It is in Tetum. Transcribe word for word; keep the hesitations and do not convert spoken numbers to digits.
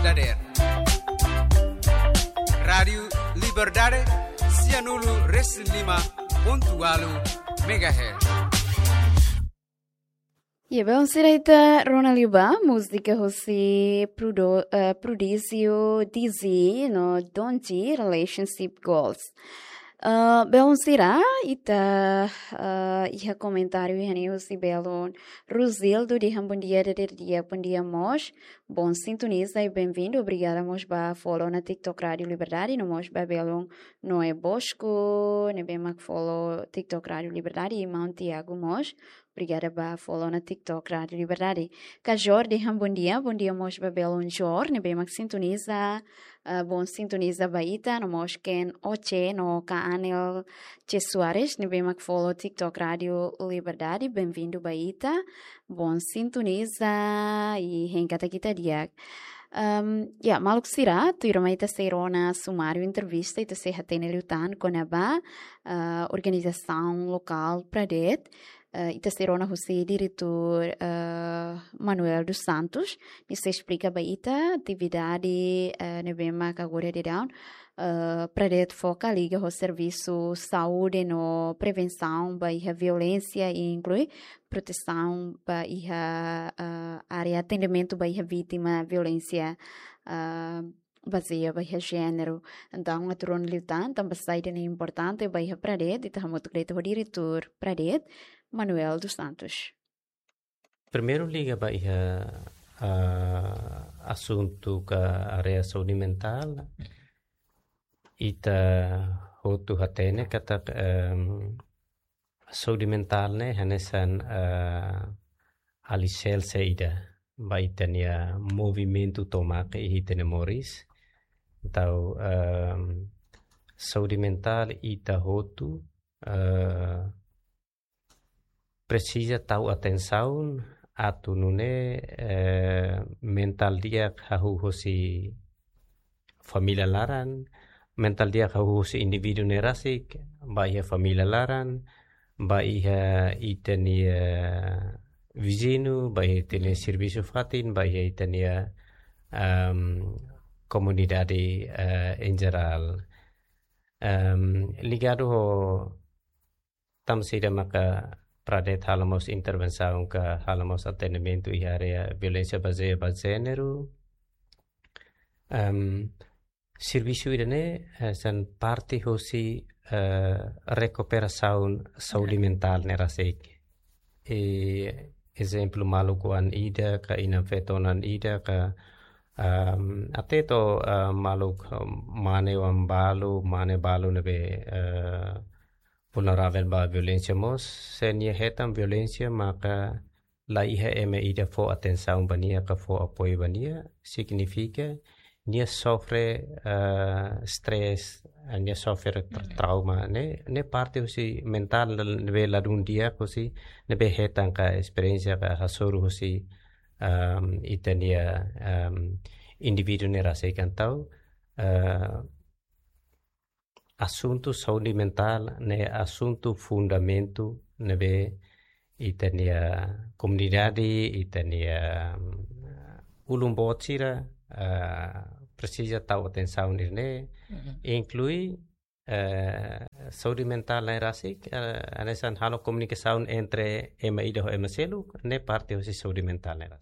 Dader. Rádiu Liberdade, sianulu resin lima pontu ualu megahertz. Ya, belun sira, ita rona liu ba múzika husi Prudo-, eh, Prodígio Dizzy no Donji, Relationship Goals. Eh, belun sira, ita, eh, iha komentáriu iha ne'e husi belun Rosildo dehan bondia dader di'ak, bondia mós. Bom sintoniza i bem-vindo. Obrigada mós ba follow ona TikTok Rádiu Liberdade, no mós ba belun Noé Bosco, ne'ebé mak follow TikTok Rádiu Liberdade, i maun Tiago mós. Obrigada ba follow ona TikTok Rádiu Liberdade. Kajor dehan bondia, bondia mós ba belun Jor, ne'ebé mak sintoniza, eh, bom sintoniza ba ita, no mós Ken Oche, no Ka Anel Che Soares, ne'ebé mak follow TikTok Rádiu Liberdade, bem-vindo ba ita. Bom sintoniza, i hein katak ita di'ak. Ehm, ya, maluk sira, tuir mai ita sei rona sumáriu entrevista, ita sei hatene liután kona-ba, eh, organizasaun lokál Pradet, eh, ita sei rona husi diretór, eh, Manuel dos Santos, nia sei esplika ba ita atividade, eh, ne'ebé mak agora daudaun, eh, Pradet foka liga ho servisu saúde no prevensaun ba iha violénsia, i inklui protesaun ba iha, eh, área atendimentu ba iha vítima violénsia, eh, bazeia ba iha jéneru. Entaun, atu rona liután tanba sá ida-ne'e importante ba iha Pradet, ita hamutuk de'it ho diretór Pradet, Manuel dos Santos. Primeiru liga ba iha, ah, asuntu ka área saúde mentál. Ita hotu hatene katak, em, saúde mentál ne'e hanesan, eh, aliserse ida ba ita-nia movimentu tomak iha ita-nia moris. Entaun, em, saúde mentál ita hotu, eh, presiza tau atensaun atu nune'e, eh, mentál di'ak hahú husi família laran, mentál di'ak hahú husi indivíduu ne'e rasik, ba iha família laran, ba iha ita-nia viziñu, ba iha ita-nia servisu fatin, ba iha ita-nia, em, komunidade, eh, em jerál. Em, ligadu ho tanba sá ida maka Pradet halo mós intervensaun ka halo mós atendimentu iha área violénsia bazeia ba jéneru. Em, servisu ida-ne'e, eh, hanesan parte husi, eh, rekuperasaun saúde mentál ne'e rasik. I ezemplu, maluk oan ida ka inan-feton oan ida ka, em, até to'o, eh, maluk, em, mane oan balu, mane balu ne'ebé, eh, vulneravel ba violénsia mós, se nia hetan violénsia maka la iha ema ida fó atensaun ba nia ka fó apoiu ba nia, signifika nia sofre, eh, stress, eh, nia sofre tra-, trauma, ne'e, ne'e parte husi mentál ne'ebé ladún di'ak husi, ne'ebé hetan ka esperiénsia ka hasoru husi, em, ita-nia, em, indivíduu ne'e rasik. Entaun, eh, asuntu saúde mentál ne'e asuntu fundamentu ne'ebé ita-nia komunidade, ita-nia, mm, ulun boot sira, eh, presiza tau atensaun ida-ne'e, inklui, eh, saúde mentál ne'e rasik, eh, hanesan halo komunikasaun entre ema ida ho ema seluk, ne'e parte husi saúde mentál ne'e rasik.